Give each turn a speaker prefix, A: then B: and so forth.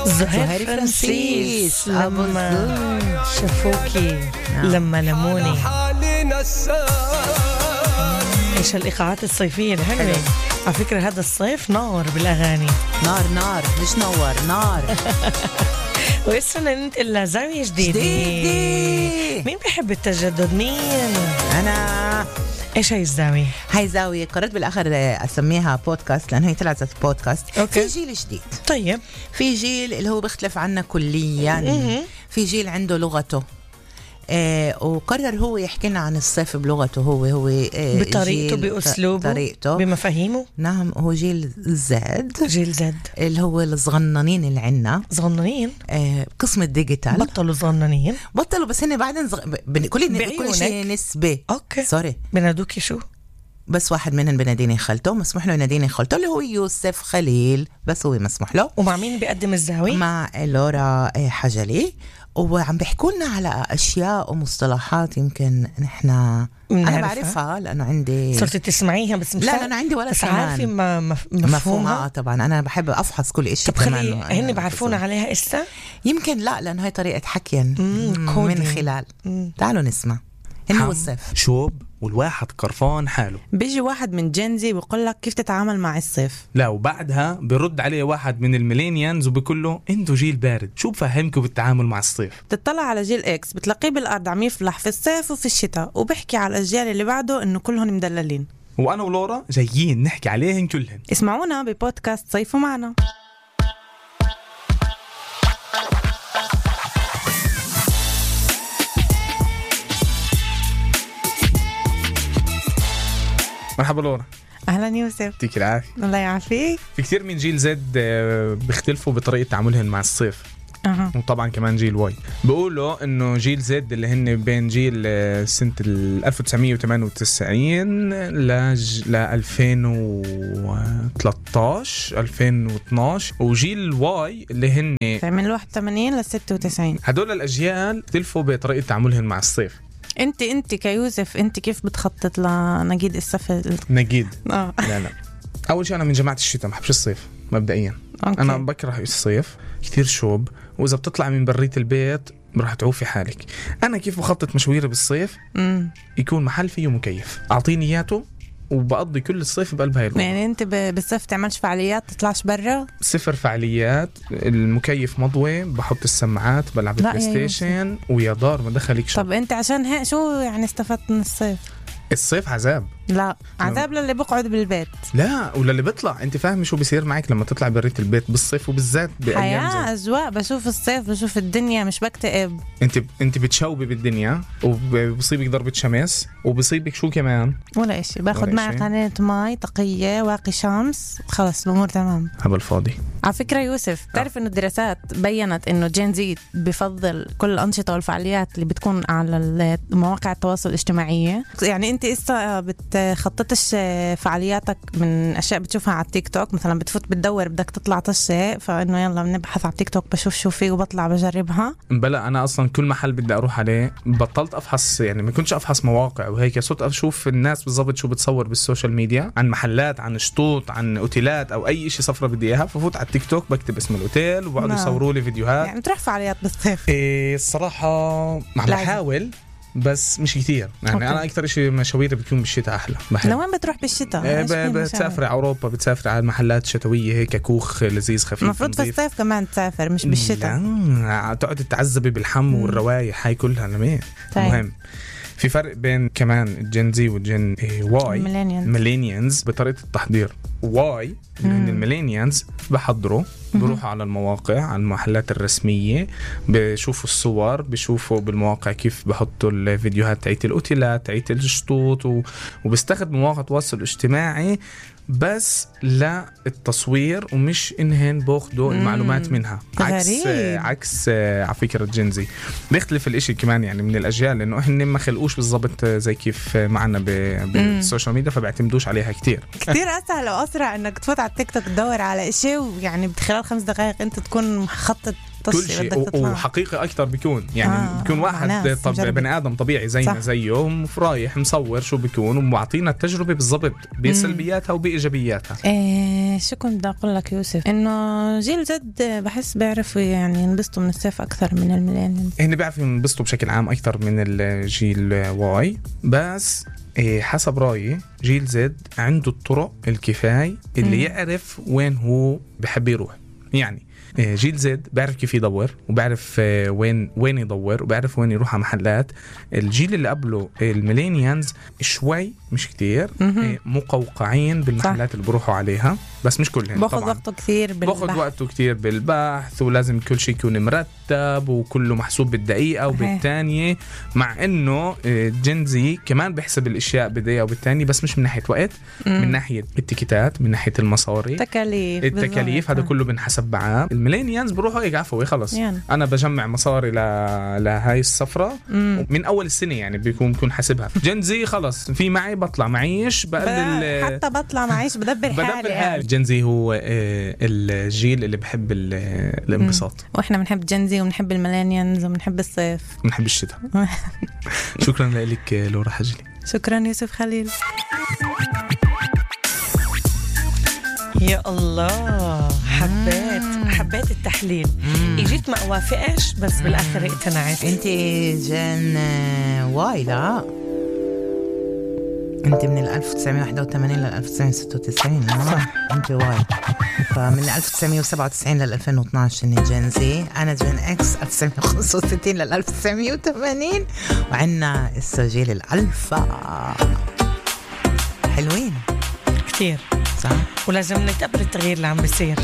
A: زهير فرانسيس لما شافوكي لما لموني. ايش الإيقاعات الصيفية الحلوة. على فكرة هذا الصيف نار بالأغاني.
B: نار مش نور نار.
A: ويسرنا ننتقل لزاوية جديدة. مين بيحب التجدد؟ مين؟
B: أنا.
A: ايش هاي الزاوية؟
B: هاي زاوية قررت بالآخر أسميها بودكاست لأنه هي طلعت بودكاست.
A: أوكي.
B: في جيل جديد.
A: طيب
B: في جيل اللي هو بيختلف عنا كليا. في جيل عنده لغته. وقرر هو يحكي لنا عن الصيف بلغته هو
A: بطريقته بأسلوبه
B: بطريقته
A: بمفاهيمه.
B: نعم هو جيل زد.
A: جيل زد
B: اللي هو الصغننين اللي عنا
A: صغننين.
B: قسم الديجيتال
A: بطلوا صغننين.
B: بطلوا بس هن بعدين كل شيء نسبة.
A: اوكي
B: سوري
A: بنادوكي شو؟
B: بس واحد منهم بناديني خالته مسموح له يناديني خالته اللي هو يوسف خليل بس هو مسموح له.
A: ومع مين بيقدم الزاوية؟
B: مع لورا حجلي. وعم بيحكوا لنا على أشياء ومصطلحات يمكن أنا بعرفها لأنه عندي
A: صرت تسمعيها بس مش
B: لا أنا عندي ولا
A: بس عارفة
B: مفهومها طبعا أنا بحب أفحص كل إشي.
A: طب خلي هن بعرفونا عليها إسا
B: يمكن لا لأنه هاي طريقة حكي من خلال تعالوا نسمع. إنه الصيف
C: شوب والواحد قرفان حاله.
D: بيجي واحد من جنزي بيقول لك كيف تتعامل مع الصيف.
C: لا وبعدها بيرد عليه واحد من الميلينيانز وبيقول له انتو جيل بارد شو بفهمكم بالتعامل مع الصيف.
D: تطلع على جيل اكس بتلاقيه بالارض عم يفلح في الصيف وفي الشتاء وبحكي على الاجيال اللي بعده انه كلهم مدللين.
C: وانا ولورا جايين نحكي عليهن كلهن.
D: اسمعونا ببودكاست صيفوا معنا.
C: مرحبا لورا.
D: اهلا يوسف.
C: يعطيك العافيه.
D: الله يعافيك.
C: في كثير من جيل زد بيختلفوا بطريقه تعاملهم مع الصيف. وطبعا كمان جيل واي بيقولوا انه جيل زد اللي هن بين جيل سنه 1998 ل 2013 2012 وجيل واي اللي هن
D: من 81 ل 96.
C: هدول الاجيال اختلفوا بطريقه تعاملهم مع الصيف.
D: انت كيوسف انت كيف بتخطط لنجيد الصيف؟
C: نجيد لا اول شيء انا من جماعه الشتاء ما بحبش الصيف مبدئيا.
D: أوكي.
C: انا بكره الصيف كثير شوب واذا بتطلع من برية البيت راح تعوفي حالك. انا كيف بخطط مشويري بالصيف؟ يكون محل فيه مكيف اعطيني اياته وبقضي كل الصيف بقلب هاي الأوضة.
D: يعني انت بالصيف تعملش فعاليات تطلعش برا؟
C: صفر فعاليات. المكيف مضوي بحط السماعات بلعب بلاي ستيشن ويا دار ما دخلك شو.
D: طب انت عشان هيك شو يعني استفدت من الصيف؟
C: الصيف عذاب.
D: لا عذاب للي بقعد بالبيت.
C: لا ولا اللي بيطلع. انت فاهم شو بيصير معك لما تطلع برية البيت بالصيف وبالذات بايام
D: حياة أجواء. بشوف الصيف بشوف الدنيا مش بكتئب.
C: انت بتشوبي بالدنيا وبصيبك ضربة شمس وبصيبك شو كمان
D: ولا إشي. باخد معي قناة ماي تقية واقي شمس خلص الأمور تمام.
C: هبل فاضي.
D: على فكرة يوسف بتعرف إنه الدراسات بيّنت إنه جين زي بفضل كل الأنشطة والفعاليات اللي بتكون على مواقع التواصل الاجتماعي. يعني انت إسا بتخططش فعالياتك من أشياء بتشوفها على التيك توك مثلا بتفوت بتدور بدك تطلع طشة فإنه يلا بنبحث على التيك توك بشوف شو فيه وبطلع بجربها؟
C: بلا أنا أصلا كل محل بدي أروح عليه بطلت أفحص يعني ما كنتش أفحص مواقع وهيك صرت أشوف الناس بالضبط شو بتصور بالسوشيال ميديا عن محلات عن شطوط عن أوتيلات أو أي إشي صفرة بدي إياها ففوت على التيك توك بكتب اسم الأوتيل وبعدوا يصوروا لي فيديوهات.
D: يعني تروح فعاليات بالصيف؟
C: الصراحة عم بحاول بس مش كتير يعني. أوكي. أنا أكتر إشي مشاويري بيكون بالشتاء أحلى.
D: لوين بتروح بالشتاء؟
C: بتسافر على أوروبا بتسافر على محلات شتوية هيك كوخ لذيذ خفيف.
D: المفروض في الصيف كمان تسافر مش بالشتاء.
C: لا تقعد تعذبي بالحم والروايح هاي كلها لمين. مهم. في فرق بين كمان الجين زي والجين واي ميلينيانز بطريقة التحضير. واي من الميلينيانز بحضروا بروحوا على المواقع على المحلات الرسمية بشوفوا الصور بشوفوا بالمواقع كيف بحطوا الفيديوهات تاعت الأوتيلات تاعت الشطوط وبستخدموا مواقع التواصل الاجتماعي بس لا التصوير ومش إنهن باخدوا المعلومات منها. عكس على فكرة جنزي بيختلف الاشي كمان يعني من الأجيال لأنه إحنا ما خلقوش بالضبط زي كيف معنا بالسوشيال ميديا فبيعتمدوش عليها كتير
D: أسهل وأسرع إنك تفوت على التيك توك تدور على إشي ويعني بخلال 5 دقائق أنت تكون مخطط
C: كل شيء وحقيقي أكتر بيكون يعني بيكون واحد بني آدم طبيعي زينا زيهم رايح مصور شو بيكون ومعطينا التجربة بالضبط بسلبياتها وبإيجابياتها.
D: شو كنت بدي أقول لك يوسف، إنه جيل زد بحس بيعرفوا يعني ينبسطوا من الصيف أكثر من الميلينيالز.
C: هن بيعرفوا ينبسطوا بشكل عام أكثر من الجيل واي، بس حسب رأيي جيل زد عنده الطرق الكفاية اللي يعرف وين هو بحب يروح. يعني جيل زد بيعرف كيف يدور وبيعرف وين يدور وبيعرف وين يروح على محلات. الجيل اللي قبله الميلينيالز شوي مش كتير مقوقعين بالمحلات اللي بروحوا عليها، بس مش كلهم.
D: باخذ وقته كثير بالبحث،
C: باخذ وقته كتير بالبحث ولازم كل شيء يكون مرتب وكله محسوب بالدقيقة وبالثانية، مع انه جنزي كمان بيحسب الاشياء بدقيقة وبالثانية، بس مش من ناحية وقت، من ناحية التيكيتات، من ناحية المصاري، التكاليف هذا كله بنحسب معاه. الميلينيالز بروحوا هيك عفوي خلص يعني. انا بجمع مصاري لهاي السفرة من اول السنة يعني بيكون حاسبها. جنزي خلص في معي بطلع معيش بقلل،
D: حتى بطلع معيش بدبر حالي.
C: جنزي هو الجيل اللي بحب الانبساط،
D: واحنا بنحب جنزي وبنحب الميلينيالز وبنحب الصيف
C: بنحب الشتاء. شكرا لك لورا حجلي.
D: شكرا يوسف خليل.
A: يا الله حبيت التحليل. اجيت ما اوافقش بس بالاخر اقتنعت.
B: انت جن واي؟ لا انت من 1981 ل 1996. صح انت واي. فمن 1997 ل 2012 اني جن زي. انا جن اكس 1965 ل 1980. وعنا السجيل الالفا. حلوين
A: كتير
B: صح،
A: ولازم نتقبل التغيير اللي عم بيصير.